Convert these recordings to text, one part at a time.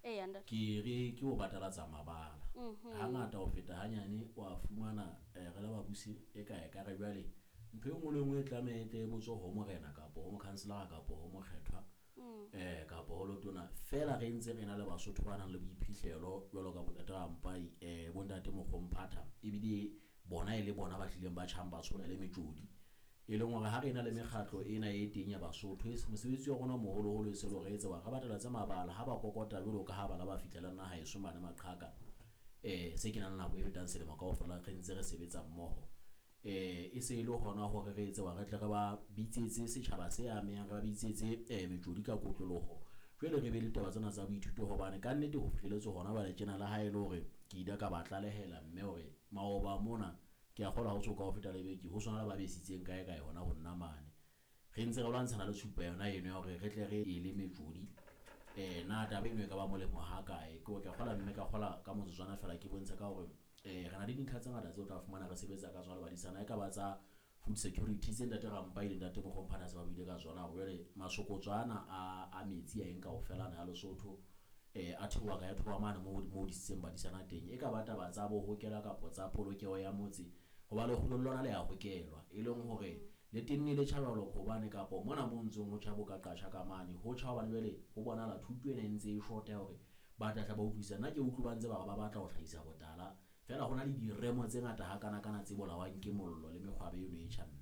Eya ntate. Ke re ke ho batalatsa mabala. Hangata ho feta hanyane wa fumana re le babusi e ka ekare jwale ntho e nngwe le e nngwe e tlameha e tle e botswe ho morena kapo ho mokhanselara kapo ho mokgethwa kapo ho letona. Feela re ntse re na le Basotho ba nang le boiphihlelo jwalo ka bo ntate Rampai, bo ntate Mokgomphatha ebile bona e le bona ba hlileng ba tjhang ba tshola le metjodi. E leng hore ha re na le mekgatlo ena e teng ya Basotho, mosebetsi wa rona o moholoholo e se le hore re etse hore re batalatse mabala ha ba kokota jwalo ka ha bana ba fihla le nna haeso mane Maqhaka. Se ke nang le nako e fetang selemo kaofela re ntse re sebetsa mmoho. E se e le hona hore re etse hore re tle re ba bitsetse setjhaba se amehang, re ba bitsetse metjodi ka kotloloho. Jwale re be le taba tsena tsa boithuto hobane kannete ho fihlelletse hona jwale tjena le ha e le hore ke ile ka ba tlalehela mme hore maoba mona ke a kgolwa ha ho so ka ho feta le beke ho sona le ba besitseng kae kae hona ho nna mane. Re ntse re lwantshana le tshupa yona eno ya hore re tle re ele metjodi. Na taba eno e ka ba molemo ha kae? Ke hore ke a kgolwa mme ka kgolwa ka motsotswana feela ke bontshe ka hore re na le dintlha tse ngata tseo o tla fumana re sebetsa ka tsona le badisana. E ka ba tsa food security tse ntate Rampai le ntate Mokgomphana se ba buile ka tsona hore jwale masokotso ana a metsi a eng kaofela ana a Lesotho a theoha ka ya theoha mane moo disitseng badisana teng. E ka ba taba tsa bo hokela kapa tsa polokeho ya motse, hoba lekgolo le lona le ya hokelwa. E leng hore le tenne le tjha jwalo hobane kapo mona mo ntseng ho tjha bo ka qatjha ka mane, ho tjha hobane jwale ho bonahala thuto ena e ntse e short ya hore ba tla tla ba utlwisisa. Nna ke utlwe ba ntse ba re ba batla ho hlahisa botala, feela ho na le diremo tse ngata hakanakana tse bolawang ke mollo le mekgwabe eno e tjha mme.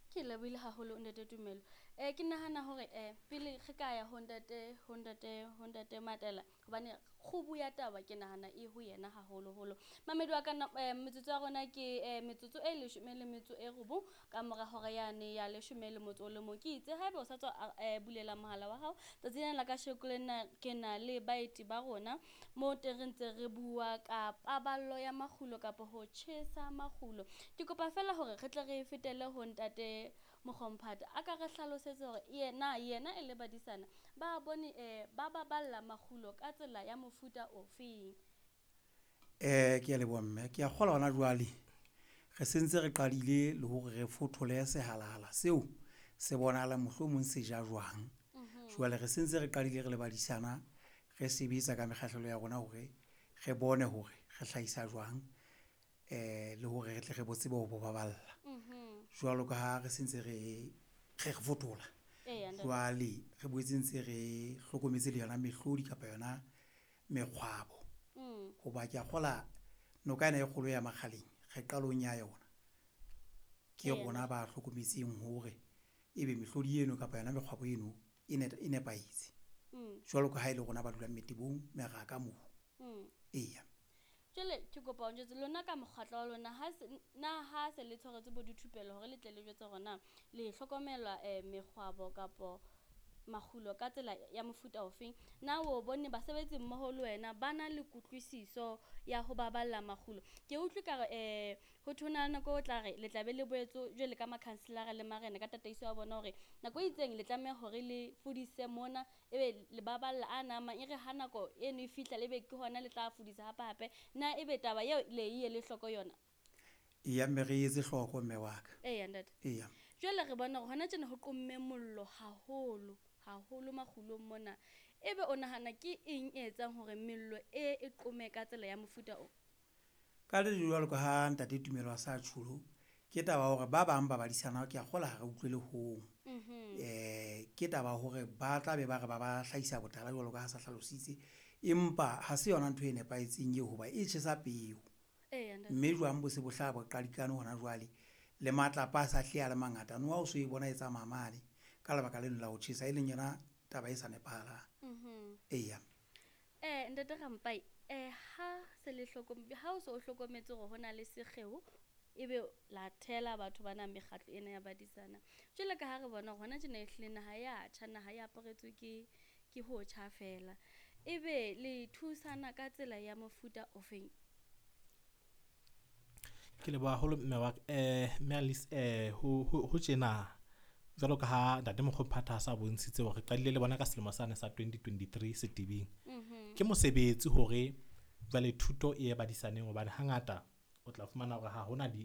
Ke lebohile haholo ntate Tumelo. Ke nahana hore pele re ka ya ho ntate Matela, hobane kgubu ya taba ke nahana e ho yena haholoholo. Mamedi wa ka metsotso ya rona ke metsotso e 19 ka mora hora yane ya 11. Ke itse haeba o sa tswa bulela mohala wa hao, tsatsi lena la kasheko le nna ke na le baeti ba rona mo teng re ntse re bua ka paballo ya makgulo kapa ho tjhesa makgulo. Ke kopa feela hore re tle re fetele ho ntate Mokgomphata a ka re hlalosetse hore yena e le badisana ba bone ba baballa makgulo ka tsela ya mofuta ofeng. Ke a leboha mme, ke a kgolwa hona jwale re sentse re qadile le hore re fothole sehalahala seo se bonahalang mohlomong se ja jwang. Jwale re sentse re qadile re le badisana, re sebetsa ka mekgahlelo ya rona hore re bone hore re hlahisa jwang le hore re tle re bo tsebe ho bo baballa. Jwalo ka ha re sentse re re fothola, jwale re boetse ntse re hlokometse le yona mehlodi kapa yona mekgwabo. Ho ba ke a kgola noka ena e kgolo ya Makgaleng re qalong ya yona. Ke rona ba hlokometseng hore ebe mehlodi eno kapa yona mekgwabo eno e nepahetse. Jwalo ka ha e le rona ba dulang metebong, meraka moo. Eya. Jwale ke kopa o njwetse lona ka mokgatlo wa lona, na ha se le tshwaretswe bo dithupelo hore le tle le jwetse hore na le hlokomela mekgwabo kapo makgulo ka tsela ya mofuta ofeng? Na o bone basebetsi mmoho le wena ba na le kutlwisiso ya ho baballa makgulo? Ke utlwe ka re ho thwe ho na le nako o tla re le tla be le boetse jwale ka makhanselara le marena ka tataiso ya bona hore nako e itseng le tlameha hore le fudise mona, ebe le baballa a na mang, e re ha nako eno e fihla le be ke hona le tla fudisa hape hape. Na ebe taba eo le e le hloko yona? Eya mme re etse hloko mme wa ka. Eya ntate. Eya. Jwale re bona hore hona tjena ho qomme mollo haholo haholo makgulong mona. Ebe o nahana ke eng e etsang hore mello e qome ka tsela ya mofuta o? Ka le jwalo ka ha ntate Tumelo a sa tjholo, ke taba ya hore ba bang ba badisana ke a kgolwa ha re utlwele hong. Ke taba ya hore ba tla be ba re ba ba hlahisa botala jwalo ka ha sa hlalositse, empa ha se yona ntho e nepahetseng eo ho ba e tjhesa peo. Mme jwang bo se bo hlaha bo qadikane hona jwale, le matlapa a sa hlile a le mangata. Noha o so e bona e tsamaya mane ka lebaka leno la ho tjhesa, e leng yona taba e sa nepahalang. Eya. Ntate Rampai, ha se le ha o so o hlokometse hore hona le sekgeo, ebe la thela batho bana mekgatlo ena ya badisana. Jwale ka ha re bona hore hona tjena ehlile naha ya tjha, naha e aparetswe ke ho tjha fela. Ebe le thusana ka tsela ya mofuta ofeng? Ke leboha haholo mme wa ka. Mme Alice, ho tjena jwalo ka ha ntate Mokgomphatha a sa bontshitse hore re qadile le bona ka selemo sane sa 2023 Setebeng. Ke mosebetsi hore jwale thuto e ye badisaneng hobane hangata o tla fumana hore ha hona di